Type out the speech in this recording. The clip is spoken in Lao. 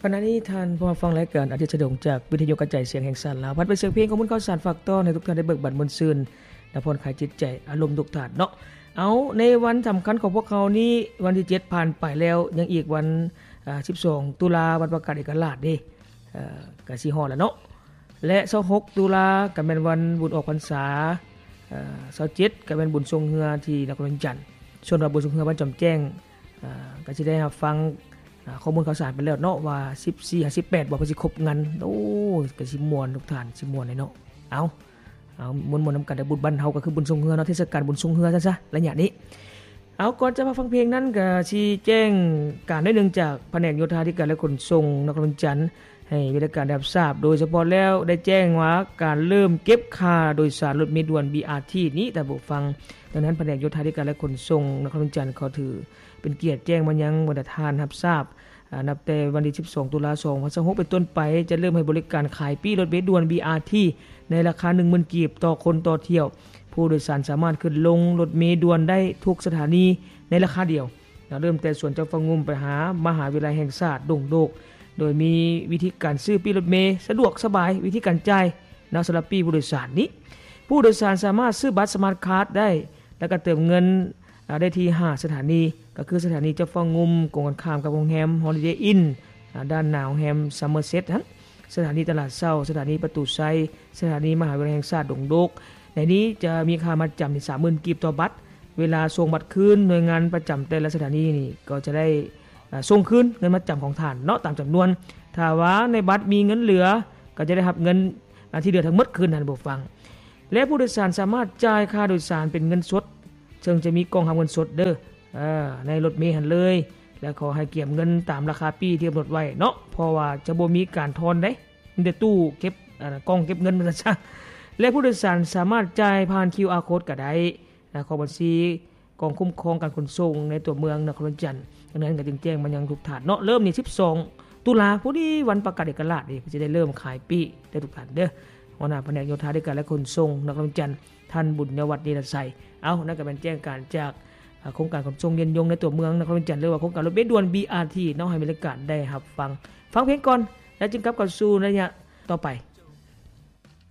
ຂະນະນີ້ທ່ານຜູ້ຮັບຟັງລາຍການອາທິດສະດົງຈາກວິທະຍຸກະຈາຍສຽງແຫ່ງຊາດລາວ ພັດໄປສຽງເພງຂອງບຸນເຂົ້າສານຝາກຕ້ອນໃຫ້ທຸກທ່ານໄດ້ເບີກບານມ່ວນຊື່ນ ແລະ ຜ່ອນຄາຍຈິດໃຈອາລົມທຸກທ່ານເນາະ. ເອົາ ໃນວັນສຳຄັນຂອງພວກເຮົານີ້ ວັນທີເຈັດຜ່ານໄປແລ້ວ ຍັງອີກວັນ ອາ ສິບສອງຕຸລາ ວັນປະກາດເອກະລາດເດ້ ເອີ ກະຊິຮອດແລ້ວເນາະ ແລະ ຊາວຫົກຕຸລາ ກະແມ່ນວັນບຸນອອກພັນສາ ເອີ ຊາວເຈັດກະແມ່ນບຸນຊ່ວງເຮືອທີ່ນະຄອນຫຼວງວຽງຈັນ. ສ່ວນວ່າບຸນຊ່ວງເຮືອບ້ານຈອມແຈ້ງ ເອີ ກະຊິໄດ້ຮັບຟັງ ເອີ ຂໍ້ມູນຂ່າວສານໄປແລ້ວເນາະ ວ່າສິບສີ່ຫາສິບແປດບໍ່ ເພິ່ນຊິຄົບກັນ. ໂອ້ ກະຊິມ່ວນທຸກທ່ານ ຊິມ່ວນເດເນາະ. ເອົາ ເອົາ ມ່ວນໆນຳກັນເດີ. ບຸນບ້ານເຮົາກະຄືບຸນຊ່ວງເຮືອເນາະ ເທດສະການບຸນຊ່ວງເຮືອຊະ ໄລຍະນີ້. ເອົາ ກ່ອນຈະມາຟັງເພງນັ້ນ ກະຊິແຈ້ງການໜ້ອຍໜຶ່ງຈາກພະແນກໂຍທາທິການ ແລະ ຂົນສົ່ງນະຄອນຫຼວງວຽງຈັນ ໃຫ້ວິທະການໄດ້ຮັບຊາບ. ໂດຍສະເພາະແລ້ວໄດ້ແຈ້ງວ່າການເລີ່ມເກັບຄ່າໂດຍສານລົດເມດ່ວນ ບີອາທີ ນີ້ ທ່ານຜູ້ຟັງ. ດັ່ງນັ້ນ ພະແນກໂຍທາທິການ ແລະ ຂົນສົ່ງນະຄອນຫຼວງວຽງຈັນ ຂໍຖືເປັນກຽດແຈ້ງມາຍັງບັນດາທ່ານຮັບຊາບ ອາ ນັບແຕ່ວັນທີສິບສອງຕຸລາ ສອງພັນຊາວຫົກເປັນຕົ້ນໄປ ຈະເລີ່ມໃຫ້ບໍລິການຂາຍປີ້ລົດເມດ່ວນ ບີອາທີ ໃນລາຄາໜຶ່ງໝື່ນກີບຕໍ່ຄົນຕໍ່ຖ້ຽວ. ຜູ້ໂດຍສານສາມາດຂຶ້ນລົງລົດເມດ່ວນໄດ້ທຸກສະຖານີໃນລາຄາດຽວ ເລີ່ມແຕ່ສວນເຈົ້າຟ້າງຸ່ມໄປຫາມະຫາວິທະຍາໄລແຫ່ງຊາດດົງໂດກ ໂດຍມີວິທີການຊື້ປີ້ລົດເມສະດວກສະບາຍ ວິທີການຈ່າຍເນາະ ສຳລັບປີ້ຜູ້ໂດຍສານນີ້. ຜູ້ໂດຍສານສາມາດຊື້ບັດສະມາດຄາດໄດ້ ແລ້ວກໍເຕີມເງິນ ອາ ໄດ້ທີ່ຫ້າສະຖານີ ກໍຄືສະຖານີເຈົ້າຟ້າງຸ່ມ ກົງກັນຂ້າມກັບໂຮງແຮມຮອລິເດອິນ ອາ ດ້ານໜ້າໂຮງແຮມຊັມເມີເຊັດຫັ້ນ, ສະຖານີຕະຫຼາດເຊົ້າ, ສະຖານີປະຕູໄຊ, ສະຖານີມະຫາວິທະຍາໄລແຫ່ງຊາດດົງໂດກ. ໃນນີ້ຈະມີຄ່າມັດຈຳນີ້ສາມໝື່ນກີບຕໍ່ບັດ. ເວລາສົ່ງບັດຄືນ, ໜ່ວຍງານປະຈຳແຕ່ລະສະຖານີນີ້ກໍຈະໄດ້ ອາ ສົ່ງຄືນເງິນມັດຈຳຂອງທ່ານເນາະ ຕາມຈຳນວນ. ຖ້າວ່າໃນບັດມີເງິນເຫຼືອ ກໍຈະໄດ້ຮັບເງິນ ອາ ທີ່ເຫຼືອທັງໝົດຄືນ ທ່ານຜູ້ຟັງ. ແລະ ຜູ້ໂດຍສານສາມາດຈ່າຍຄ່າໂດຍສານເປັນເງິນສົດ ເຊິ່ງຈະມີກ່ອງຮັບເງິນສົດເດີ ເອີ ໃນລົດເມຫັ້ນເລີຍ ແລະ ຂໍໃຫ້ກຽມເງິນຕາມລາຄາປີ້ທີ່ກຳນົດໄວ້ເນາະ ເພາະວ່າຈະບໍ່ມີການທອນເດ້ ມີແຕ່ຕູ້ເກັບ ອາ ກ່ອງເກັບເງິນວ່າຊັ້ນຊະ. ແລະ ຜູ້ໂດຍສານສາມາດຈ່າຍຜ່ານຄິວອາໂຄດກໍໄດ້ ແລະ ຂອງບັນຊີກອງຄຸ້ມຄອງການຂົນສົ່ງໃນຕົວເມືອງນະຄອນຫຼວງວຽງຈັນ. ດັ່ງນັ້ນກໍຈຶ່ງແຈ້ງມາຍັງທຸກທ່ານເນາະ ເລີ່ມນີ້ສິບສອງຕຸລາ ພໍດີວັນປະກາດເອກະລາດນີ້ ເພິ່ນຈະໄດ້ເລີ່ມຂາຍປີ້ເດີທຸກທ່ານເດີ. ຫົວໜ້າພະແນກໂຍທາທິການ ແລະ ຂົນສົ່ງນະຄອນຫຼວງວຽງຈັນ ທ່ານ ບຸນຍະວັດ ນິລະໄຊ. ເອົາ ນັ້ນກໍແມ່ນແຈ້ງການຈາກ ອາ ໂຄງການຂົນສົ່ງຍືນຍົງໃນຕົວເມືອງນະຄອນຫຼວງວຽງຈັນ ຫຼືວ່າໂຄງການລົດເມດ່ວນ ບີອາທີ ເນາະ ໃຫ້ບໍລິການໄດ້ຮັບຟັງ. ຟັງເພງກ່ອນ ແລ້ວຈຶ່ງກັບເຂົ້າສູ່ໃນໄລຍະຕໍ່ໄປ.